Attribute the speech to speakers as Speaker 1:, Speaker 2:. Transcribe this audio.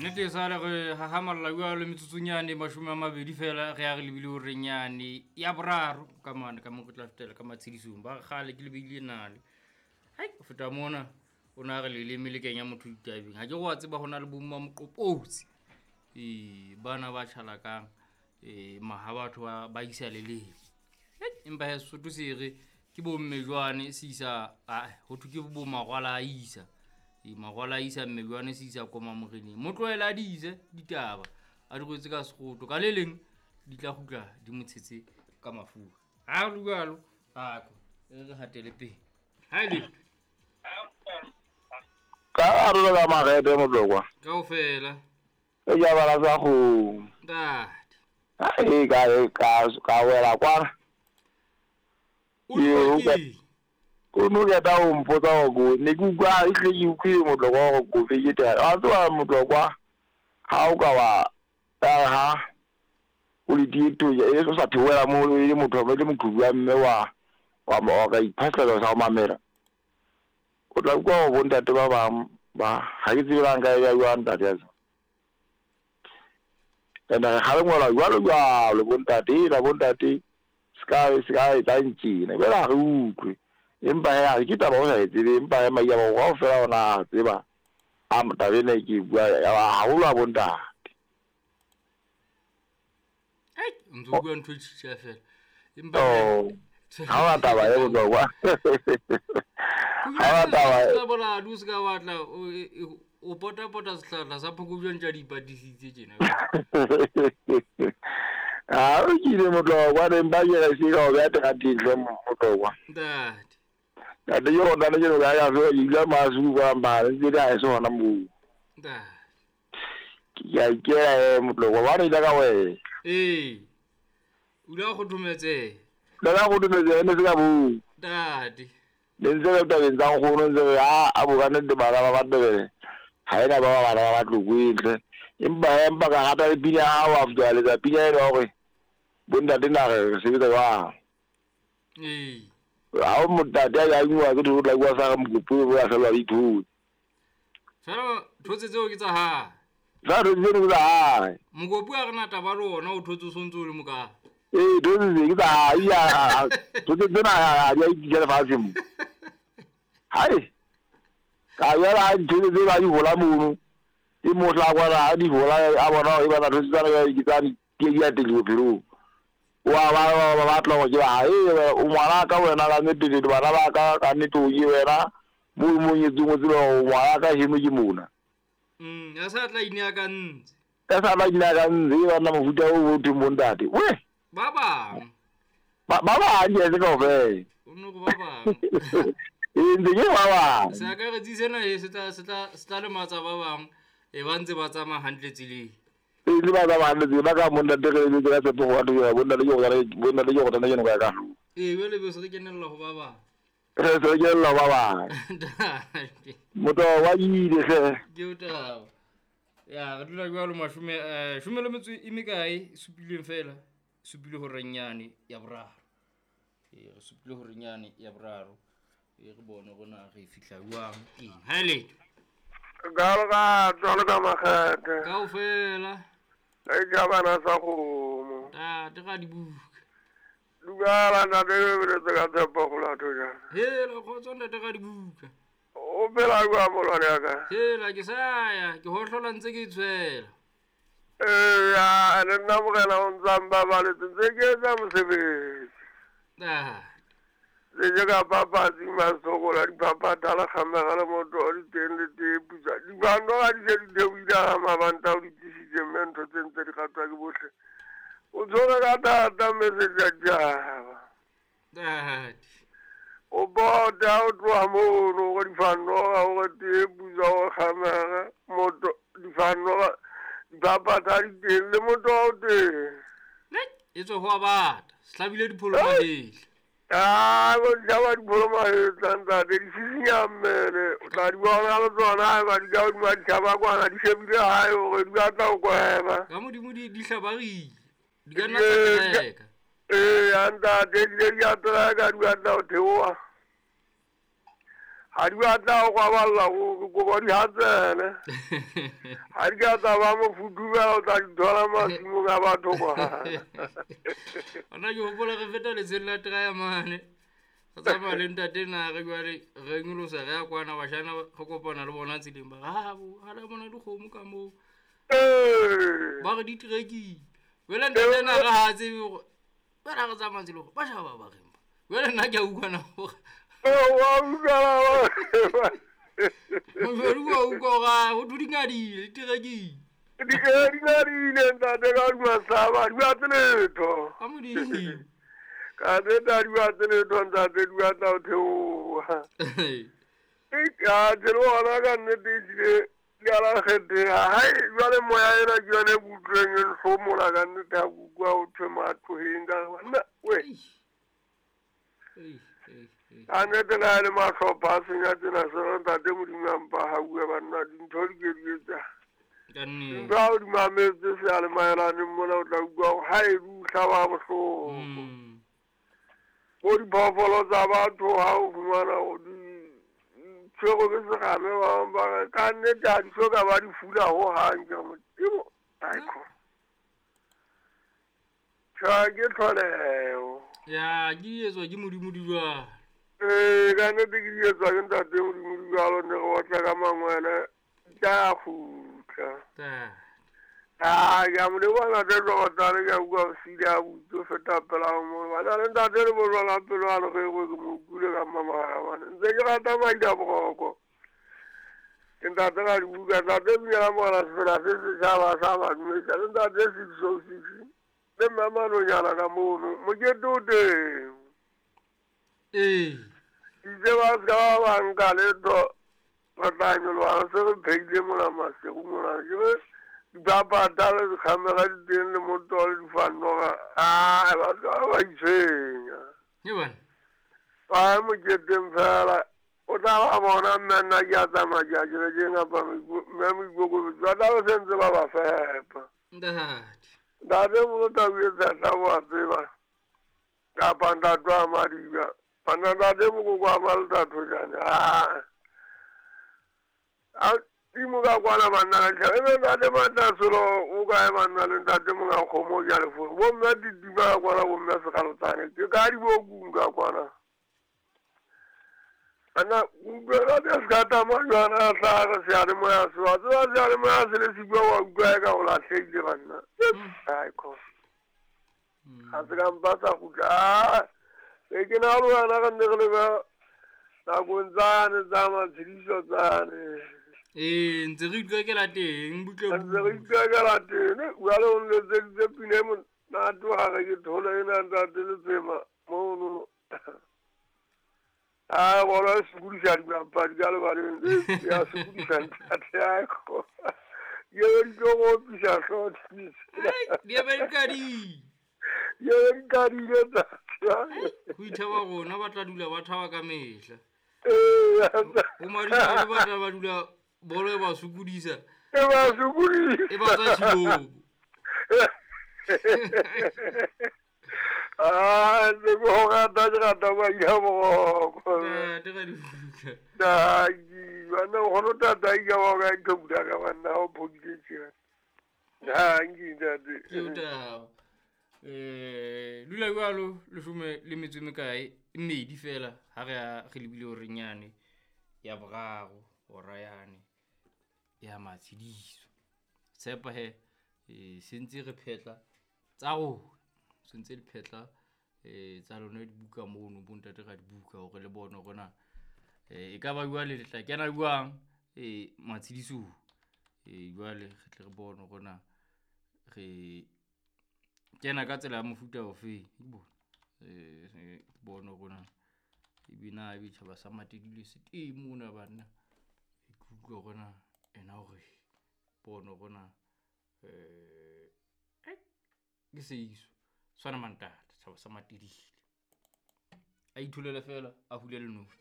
Speaker 1: Nnete e sale re hahamalla jwalo metsotsonyane 20 fela re ya re lebile horenyane ya boraro ka mane ka mo re tla fetela ka matshedisong. Ba re kgale ke lebeile nale. Hai, ho feta mona o na re leleme le kenya motho ditabeng. Ha ke re wa tseba ho na le bomma moqopotsi. Ee, bana ba tjhalakang maha batho ba isa leleme. Empa he Sesotho se re ke bomme jwane se isa, ho thwe ke bo mangwala a isa. Mangwala a isa mme jwane se isa koma moreneng. Mo tlohele a di ise ditaba, a di rwetse ka sekgoto. Ka le leng di tla kgutla di mo tshetse ka mafura. Ha re jwalo, ako e re hatele pele. Ha e le
Speaker 2: ka arolo ka marete motlokwa.
Speaker 1: Kaofela.
Speaker 2: E ja bala sa kgomo.
Speaker 1: Ntate.
Speaker 2: Ai, ka wela kwana.
Speaker 1: O lokile.
Speaker 2: O no keta o mpotsa hore ko ne ke utlwa e tle ke utlwile motlokwa hore kofi ke teng. Wa tseba motlokwa ha o ka wa ha o le tieto e o sa theohela mo e le motho e le moqhubu wa mme wa ka iphahlela sa ho mamela. O tla utlwa hore bontate ba bang ba ha ke tsebe nka ya jwang ntate ya. Ene re kgalengwela jwalo jwalo bontate la bontate ska etsa ntjena jwale ha re utlwe. Empa he ha ke taba o sa e tsebe, empa he maiya ba kaofela ona a tseba a taba ena ke bua haholo a bontate.
Speaker 1: Ai, ntso bua ntho e tjhitjha fela. Empa
Speaker 2: ha wa taba e bohlokwa. Ha wa taba
Speaker 1: e boladu se ka batla o pota-pota sehlahla sa phokojwe ntse a di ipatisitse tjena.
Speaker 2: Ha o kile motlokwa ne mpa ke re se ka o beha terateng hle motlokwa.
Speaker 1: Ntate.
Speaker 2: Ntate ke rona le ke no ka ya so ile masu kwa mare ntse di a se hona moo.
Speaker 1: Ntate.
Speaker 2: Ke a ikela motlokwa ba re ile ka wena.
Speaker 1: Ee. O ile go thometse.
Speaker 2: Le ka go thometse ne se ka bo.
Speaker 1: Ntate.
Speaker 2: Le ntse re tabeng tsa nkgono ntse re a bokane le bana ba Matebele. Ha ena ba bana ba Tlokweng. Empa ka rata le pina ha wa fetwa letsa pina ena hore bontate na re sebetsa jwang.
Speaker 1: Ee.
Speaker 2: Ha o motate a ya ngwa ke tlo tla bua sa mokopi o ya fela dithotse.
Speaker 1: Fela thotse tseo ke tsa hae.
Speaker 2: Tsa thotse tseo ke tsa hae.
Speaker 1: Mokopi a re na taba le ona o thotse o sontse o le moka.
Speaker 2: Ee, thotse tse ke tsa hae ya thotse tsena ha di a itisa lefatshe mo. Hai. Ka yela thotse tse ba di hola mono. E mohla kwana ha di hola a bona e bana thotse tsana ya ke tsa di ke di a teng bophelong. Wa ba batla go ke ba o ngwana ka wena ka nnete le bana ba ka ka nnete o ke wena mo mo nyetseng o tseba o ngwana ka heno ke mona.
Speaker 1: Ya sa tla ine ka ntse.
Speaker 2: Ya sa tla ine ka ntse ba nna mofuta o bo theng bontate. We.
Speaker 1: Ba bang.
Speaker 2: Ba bang ke se kaofela.
Speaker 1: O no go ba bang.
Speaker 2: E ntse ke ba bang.
Speaker 1: Se akaretsi sena e se tla le matsa ba bang e ba ntse ba tsamaya hantle tseleng.
Speaker 2: E le ba ba hantle ba ka montate re le ka tsepo go batho ba bontate ke go bontate ke go tana ke no ka ka.
Speaker 1: Ee, jwale be se re kenella ho ba bang.
Speaker 2: Re se re kenella ho ba bang. Motho wa ile hle.
Speaker 1: Ke o taba. Ya re dula jwalo mashome shome le metso e mekae supileng fela. Supile hore nyane ya boraro. Ee, re supile hore nyane ya boraro. E re bone rona re fihla jwang eng. Ha le.
Speaker 3: Jalo ka jalo ka makgethe.
Speaker 1: Kaofela.
Speaker 3: E ja bana sa kgomo.
Speaker 1: Ntate ga dibuka.
Speaker 3: Dumela ntate re tse ka tshepo go latho jang.
Speaker 1: Hela kgotso ntate ga dibuka.
Speaker 3: O phela jwang molwane ya ka?
Speaker 1: Hela ke sa ya ke hohlola ntse ke itshwela.
Speaker 3: Eya, le nna morena o ntsa mbabaletse ntse ke etsa mosebetsi.
Speaker 1: Ntate.
Speaker 3: Le je ka papatsi masokola dipapata le kgamega le motho o di teng le tee putsa. Dibando ga di se di theohile ga mabanta o di tlisitse mme ntho tse ntse di ratwa ke bohle. O tshwere ka thata mme se di a tjaba.
Speaker 1: Ntate.
Speaker 3: O bota o tloha mono gore difanoga gore tee putsa gore kgamega motho difanoga dipapata di teng le motho o teng.
Speaker 1: E tswe ho a bata. Se hlabile dipholo mahetla.
Speaker 3: Ah, go jaba dipholo mahetla ntate di sisinya mmele. O tla di bona le tsona ba di ka hodima ditjhaba kwana di shebile hae hore di batla ho kweba.
Speaker 1: Ka modimo di hlabarile. Di ka nna tsa treka.
Speaker 3: Ee, ntate di a treka di batla ho theoha. Ga di batla go kwaballa go kopa di hatsele. Ga di ka tsa ba mo futumela o tla di thola masimong a batho kwa.
Speaker 1: Ona ke hopola re feta letsheng la Traya mane. Re tsamaya le ntate Nare jwale re nyolosa re ya kwana bashana re kopana le bona tseleng ba re ha bo ha la bona dikgomo ka moo.
Speaker 3: Ee.
Speaker 1: Ba re di trekile. Jwale ntate Nare ha a tsebe hore jwale ha re tsamaya tseleng hore ba shaba ba reng ba. Jwale nna ke a utlwa na hore
Speaker 3: Ee, wa utlwa
Speaker 1: Mojwadi wa utlwa hore ah, ho thwe di ngadile di trekile.
Speaker 3: Di di ngadile ntate ka hodima saba, di batle letho.
Speaker 1: Ka Modimo.
Speaker 3: Ka nnete ha di batle letho ntate, di batla ho theoha. Atjhe le hona ka nnete ehlile di a la kgetheha. Hai jwale moya ena ke yona e ke utlwileng e nhlomola ka nnete ha ke utlwa ho thwe matloheng ka re banna we.
Speaker 1: Ei, ei, ei.
Speaker 3: Ka nnete le ha e le mahlopha a senya tsena sena ntate Modimo a mpa hauwe banna dintho di ke di etsa.
Speaker 1: Ka nnete.
Speaker 3: Dintho ha o di mametse seyalemaelaneng mona o tla utlwa hore ha e o hlaba bohloko. Bo diphoofolo tsa batho ha o fumana hore di tshwerwe ke serame ba bang ba re ka nnete ha di soka ba di fula hohang. Ke re Modimo aiko. Tjha ke tlholeho.
Speaker 1: Ya ke etswa ke Modimo di jwalo.
Speaker 3: Ee, ka nnete ke di etswa ke ntate Modimo di jwalo ne re otla ka mangwele tsa kgutla.
Speaker 1: Ntate.
Speaker 3: Ah, ke a mo leboha ntate Tlokotane, ke a utlwa o sile a butse ho feta pela ho mo. Bana le ntate le bojwala pelo a lereko ke mo utlwile ka mmamagabane. Ntse ke rata madi a boroko. Ke ntate ra dibuka, ntate Dumela Morena sefela se setjhaba sa badumedi. Le ntate 606 le mme Manonyana ka mono. Mokete o teng.
Speaker 1: Ee.
Speaker 3: Itse ba se ka ba ba nka letho re tla nyoloha re se re pheile mona masigo mona. Ke re dipapata le dikhamera di teng le moto le difannoga. Ah, batho ba ba itshwenya.
Speaker 1: Ke bana.
Speaker 3: Ba moketeng fela. O tla ba bona mme nna ke a tsamaya ke ya kerekeng kapa mme moikokobetso. Ba tla be sentse ba ba fepa.
Speaker 1: Ntate.
Speaker 3: Ntate molo tau e tshehla o a tseba. Kapa ntate wa Madiba. Banna ntate mokoko wa Maltathojane. Ah. A timo ka kwana banna ka tjhaba. Ebe ntate Matasolo o kae banna le ntate monga kgomo ke a leforo. Bo mme Titima ka kwana bo mme Sekgalotsane. Ke ka dibokung ka kwana. Banna utlwe ka se ka tsamaya jwana a hlaha seyalemoya se wa tseba seyalemoya se le siko wa utlwa eka o lahlehile banna. Aiko. Ha se ka mpa sa kgutla. Ah, e ke na le wena re nne re lebe nakong tsane tsa matshediso tsane.
Speaker 1: Ee, ntse re itlwekela teng butle
Speaker 3: Ntse re itlwekela teng. Jwale o nletseditse pina e monate ha re ke thole ena ntate Letsema mono. Ah, bona e sokodisa dibapadi ka lebaleng. Ya sokodisa ntate aiko. Ke be di tlo go opisa hlooho.
Speaker 1: Di be di kadile.
Speaker 3: Di be di kadile ntate.
Speaker 1: Ho ithaba rona ba tla dula ba thaba ka mehla.
Speaker 3: Ee,
Speaker 1: Ho madimabe ba tla ba dula bolo e ba sokodisa.
Speaker 3: E ba sokodisa.
Speaker 1: E ba tswa tshilong.
Speaker 3: Ah, ntse ke go rata ke rata madi a boroko.
Speaker 1: Ntate ra dibuka.
Speaker 3: Danki, banna nkgono tatai ka ba o ka nqhobula ka banna ha o phodile tjena. Danki ntate.
Speaker 1: Ke o taba. Dula jwalo leshome le metso e mekae e mmedi fela ha re ya re lebile horeng yane ya boraro hora yane ya matshediso. Tshepa he sentse re phetla tsa rona. Sentse le phetla tsa lona dibuka mono bo ntate ra dibuka hore le bone hore na e ka ba jwale le tla kena jwang matshedisong. Jwale re tle re bone hore na re kena ka tsela ya mofuta ofe. Ke bone ke bone hore na ebe na ebe tjhaba sa Matedile se teng mona banna. Ke utlwe hore na ena hore bone hore na ke seiso tshwana mantate tjhaba sa Matedile. A itholele fela a hule lenoti.